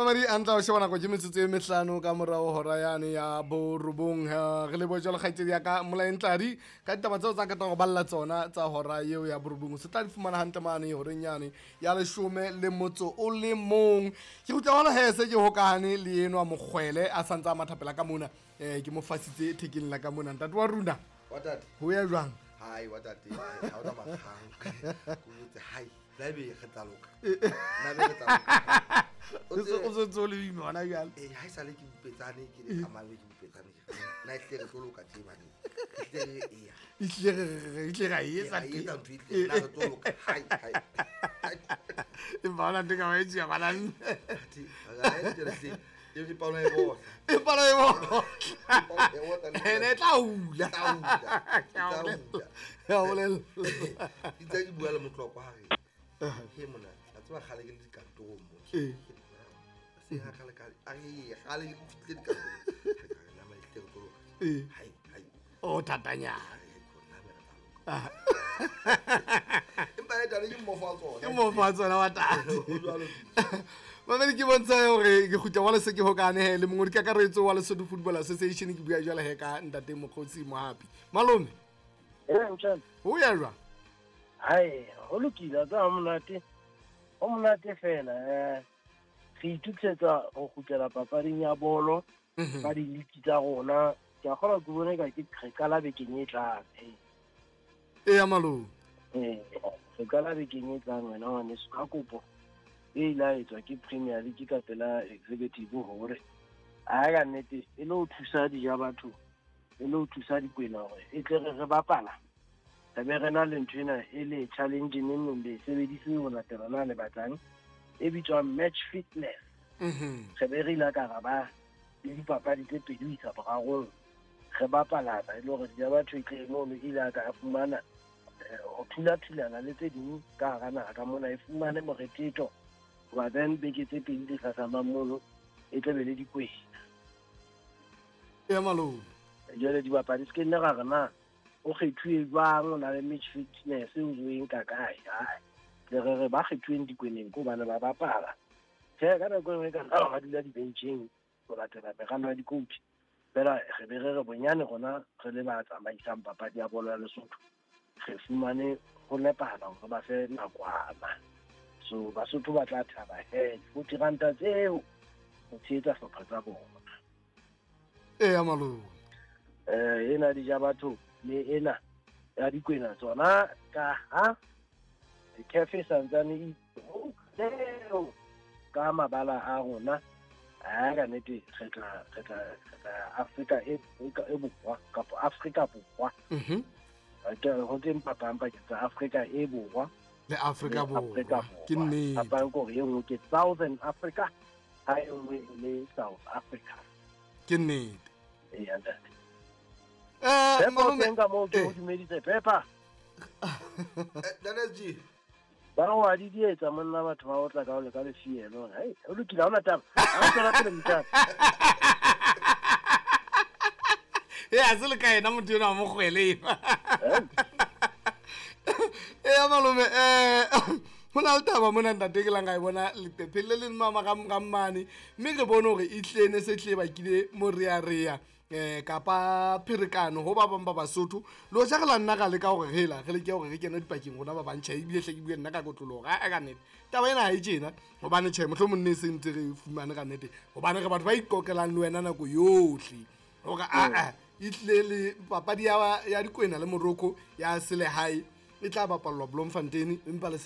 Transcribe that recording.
Mamadi a ntla o sheba nako ke metsotso e mehlano ka morao hora yane ya borobong. Re lebohe jwalo kgaitsedi ya ka Molaentladi ka ditaba tseo tsa katang go balla tsona tsa hora eo ya borobong. Se tla di fumana hantle mane horeng yane ya 11. Ke kgutla hona he se ke hokahane le enwa mokgwele a santse a mathapela ka mona. Ke mo fasitse thekeng la ka mona. Ntate wa rona. Wa tate. Ho ya jwang? Hai wa tate. Ha o tsamaya kgang. Ko botse hai. La ebe re tla loka. Na be re tla loka. O se ntse o le boima hona jwale. Eh, ha esale ke bupetsane ke le tsamaya ke bupetsane. Na ehlile re tlo loka tje bane. Ehlile re eya. Ehlile re ra e etsa Ra e etsa ntho ehlile na re tlo loka. Hai hai. Empa hona ntho e ka ba e tjea bana. Athe, ra e tjela hle. E re palo e botla. E palo e botla. E botla le Ene e tla hula. Tla hula. Ke a Tla bolela. hula. Ke a bolela. Itse ke bua le motlokwa ha re. He mona, a tseba kgale ke le dikantorong mo. Ee. Se ha kgale kgale, a re kgale ke fihlile dikantorong. Re ka re nama ehlile re tlo loka. Ee. Hai hai. O thatanyana. Hai, na be re tla loka. Empa e tane ke mmofo wa tsona. Ke mmofo wa tsona wa tate. Ho jwalo. Mamedi ke bontsha hore ke kgutla wa Lesotho ke hokane he le mongodi kakaretso wa Lesotho Football Association ke bua jwale he ka ntate Mokgotsi Mohapi. Malome. Eh, mtshana. Ho ya jwang? Hai, ho lokile tsa monate. Ho monate fela re itukisetsa ho kgutlela papading ya bolo ka diliki tsa rona. Ke a kgolwa ke bone ka ke re qala bekeng e tlang. Eya malome. Re qala bekeng e tlang wena ngwaneso ka kopo e ile ya etswa ke Premier League ka pela executive hore a ka nnete e le ho thusa dija batho e le ho thusa dikwena hore e tle re bapala re be re na le ntho ena e le challenge neng neng le sebedise ho latela na le batlang e bitswang match fitness. Re be re ile ka ra ba le dipapadi tse pedi ho isa borarong re bapalana e le hore dija batho e tle mono e ile ka fumana ho thula-thulana le tse ding ka hara naha ka mona e fumane morethetho hoba then beke tse pedi tse hlahlamang mono e tla be le dikwena. Eya malome. Jwale dibapadi se ke nne ra re na o kgethuwe jwang, o na le match fitness o e nka kae. Hai, le re re ba kgethuweng dikweneng ke hobane ba bapala. Tjhe, ka nako e nngwe ka nna ba dula dibencheng ho latela meralo ya di-coach. Fela re be re re bonyane rona re le ba tsamaisang papadi ya bolo ya Lesotho re fumane ho nepahala hore ba fe nakwana. So Basotho ba tla thaba he 40 ranta tseo ho tshehetsa hlopha tsa bona. Eya malome. Ena dija batho le ena ya dikwena tsona ka ha cafe santsane e ka mabala a rona a ka nnete re tla Afrika e borwa kapa Afrika borwa. Ho teng phapang pakeng tsa Afrika e borwa le Afrika borwa. Ke nnete. Phapang ke hore e nngwe ke Southern Africa ha e nngwe e le South Africa. Ke nnete. Eya ntate. Malome ka moo ke o dumeditse Pepper. Ntate G. Ba re wa di dietsa monna batho ba otla ka o le ka lefielo. Hei, o lokile ha hona taba. Ha o tswela pele motjhana. Ya se le ka yena motho enwa wa mokgwele enwa. Eya malome, ho na le taba mona ntate ke lang ka e bona leqepheng le leng mama ga mmane mme re bone hore e hlile ne se hlile bakile morearea kapa pherekano ho ba bang ba Basotho le hoja re la nna ra leka hore re la re leke hore re kene dipakeng rona ba bang tjhe ebile hle ke bue nna ka kotloloho a ka nnete taba ena ha e tjena hobane tjhe mohlomong ne se ntse re fumane ka nnete hobane re batho ba iqoqelang le wena nako yohle hore a e tlile le papadi ya dikwena le Morocco ya selehae e tla bapallwa Bloemfontein empa le